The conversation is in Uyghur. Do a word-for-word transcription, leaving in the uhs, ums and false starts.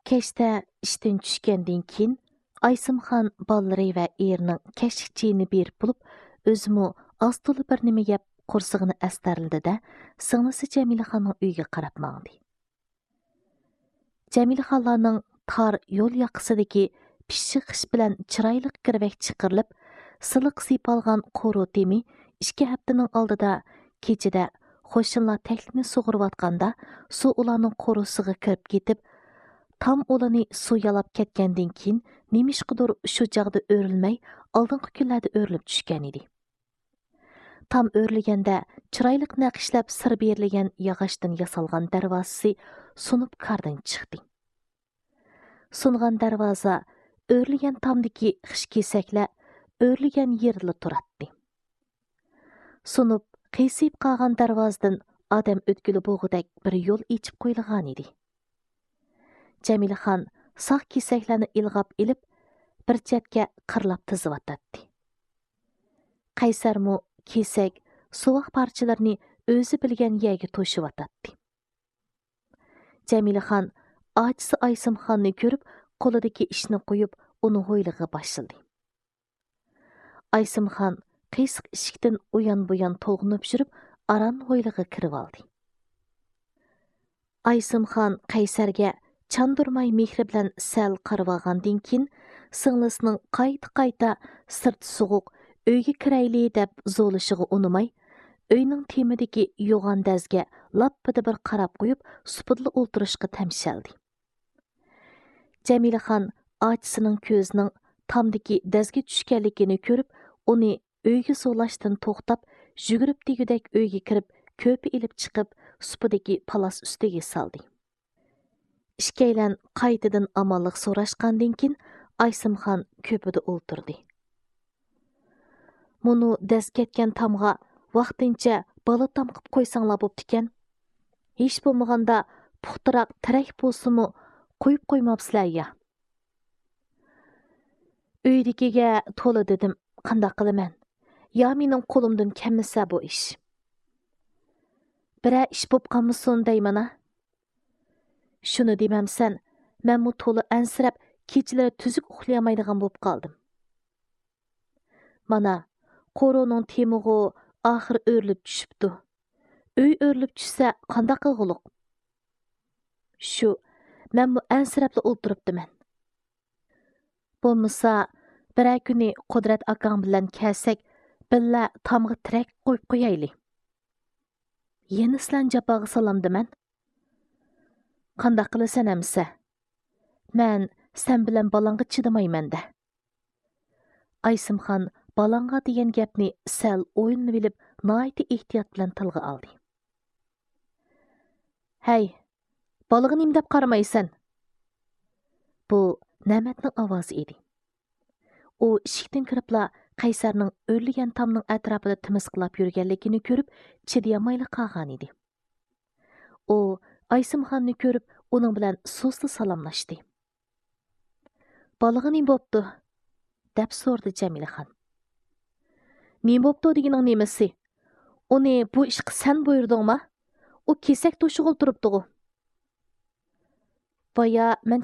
كەچتە ئىشتىن چۈشكەندىن كېيىن، ئايسىمخان بالىلىرى ۋە ئېرىنىڭ كەچلىك چېيىنى بېرىپ بولۇپ، ئۆزىمۇ ئاز تولا بىر نېمە يەپ، قورسىقىنى ئەستەرلىدى-دە، سىڭلىسى جەمىلىخاننىڭ ئۆيىگە قاراپ ماڭدى. جەمىلىخانلارنىڭ تار يول ياقىسىدىكى پىششىق خىش بىلەن چىرايلىق گىرۋەك چىقىرىلىپ، سىلىق سىيپالغان قورۇ تېمى ئىككى ھەپتىنىڭ ئالدىدا كېچىدە قوشنىلار تەكلىكنى سۇغۇرۇۋاتقاندا، سۇ ئۇلارنىڭ قورۇسىغا كىرىپ كېتىپ، تام ئۇلىنى سۇ يالاپ كەتكەندىن كېيىن، نېمىشقىدۇر شۇ چاغدا ئۆرۈلمەي، ئالدىنقى كۈنلەردە ئۆرۈلۈپ چۈشكەن ئىدى. تام ئۆرۈلگەندە، چىرايلىق نەقىشلەپ سىر بېرىلگەن ياغاچتىن ياسالغان دەرۋازىسى سۇنۇپ كاردىن چىقتى. سۇنغان دەرۋازا، ئۆرۈلگەن تامدىكى خىش كېسەكلەر، ئۆرۈلگەن يېرىدىلا تۇراتتى. سۇنۇپ، قىيسىيىپ قالغان دەرۋازىدىن ئادەم ئۆتكىلى بولغۇدەك بىر يول ئېچىپ قويۇلغانىدى. جەمىلىخان ساق كېسەكلەرنى ئىلغاپ ئېلىپ، بىر چەتكە قىرلاپ تىزىۋاتاتتى. قەيسەرمۇ كېسەك، سوۋاق پارچىلىرىنى ئۆزى بىلگەن يەرگە توشۇۋاتاتتى. جەمىلىخان ئاچىسى ئايسىمخاننى كۆرۈپ، قولىدىكى ئىشنى قويۇپ، ئۇنى ھويلىغا باشلىدى. ئايسىمخان قىيسىق ئىشىكتىن ئۇيان-بۇيان تولغىنىپ يۈرۈپ، ئاران ھويلىغا كىرىۋالدى. ئايسىمخان قەيسەرگە چاندۇرماي مېھرى بىلەن سەل قارىۋالغاندىن كېيىن، سىڭلىسىنىڭ قايتا-قايتا «سىرت سوغۇق، ئۆيگە كىرەيلى» دەپ زورلىشىغا ئۇنىماي، ئۆينىڭ تېمىدىكى يوغان دەزگە لاپپىدە بىر قاراپ قويۇپ، سۇپىدىلا ئولتۇرۇشقا تەمشەلدى. جەمىلىخان ئاچىسىنىڭ كۆزىنىڭ تامدىكى دەزگە چۈشكەنلىكىنى كۆرۈپ، ئۇنى ئۆيگە زورلاشتىن توختاپ، يۈگۈرۈپ دېگۈدەك ئۆيگە كىرىپ، كۆرپە ئېلىپ چىقىپ، سۇپىدىكى پالاس ئۈستىگە سالدى. ئىككىيلەن قايتىدىن ئامانلىق سوراشقاندىن كېيىن، ئايسىمخان كۆرپىدە ئولتۇردى. مۇنۇ دەز كەتكەن تامغا ۋاقتىنچە بالا تام قىپ قويساڭلار بوپتىكەن. ھېچ بولمىغاندا پۇختىراق تىرەك بولسىمۇ قويۇپ قويماپسىلەر يا. ئۆيدىكىگە تولا دېدىم، قانداق قىلىمەن؟ يا مېنىڭ قولۇمدىن كەلمىسە بۇ ئىش. بىرەر ئىش بوپ قالمىسۇن دەيمەن-ە. شۇنى دېمەمسەن، مەنمۇ تولا ئەنسىرەپ، كېچىلىرى تۈزۈك ئۇخلىيالمايدىغان بوپ قالدىم. مانا، قورۇنىڭ تېمىغۇ ئاخىر ئۆرۈلۈپ چۈشۈپتۇ. ئۆي ئۆرۈلۈپ چۈشسە قانداق قىلغۇلۇق؟ شۇ، مەنمۇ ئەنسىرەپلا ئولتۇرۇپتىمەن. بولمىسا، بىرەر كۈنى قۇدرەت ئاكاڭ بىلەن كەلسەك، بىللە تامغا تىرەك قويۇپ قويايلى. يەنە سىلەرنى جاپاغا سالامدىمەن؟ قانداق قىلىسەن ئەمىسە؟ مەن سەن بىلەن بالاڭغا چىدىمايمەن-دە. ئايسىمخان بالاڭغا دېگەن گەپنى سەل ئويلىنىۋېلىپ، ناھايىتى ئېھتىيات بىلەن تىلغا ئالدى. ھەي، بالىغا نېمە دەپ قارىمايسەن؟ بۇ نەمەتنىڭ ئاۋازى ئىدى. ئۇ ئىشىكتىن كىرىپلا قەيسەرنىڭ ئۆرلىگەن تامنىڭ ئەتراپىدا تىمىسقىلاپ يۈرگەنلىكىنى كۆرۈپ، چىدىيالمايلا قالغانىدى. ئۇ ئايسىمخاننى كۆرۈپ، ئۇنىڭ بىلەن سۇسلا سالاملاشتى. «بالىغا نېمە بوپتۇ؟» دەپ سورىدى جەمىلىخان. «نېمە بوپتۇ دېگىنىڭ نېمىسى؟ ئۇنى بۇ ئىشقا سەن بۇيرۇدۇڭما؟ ئۇ كېسەك توشۇغىلى تۇرۇپتىغۇ.» «بايا مەن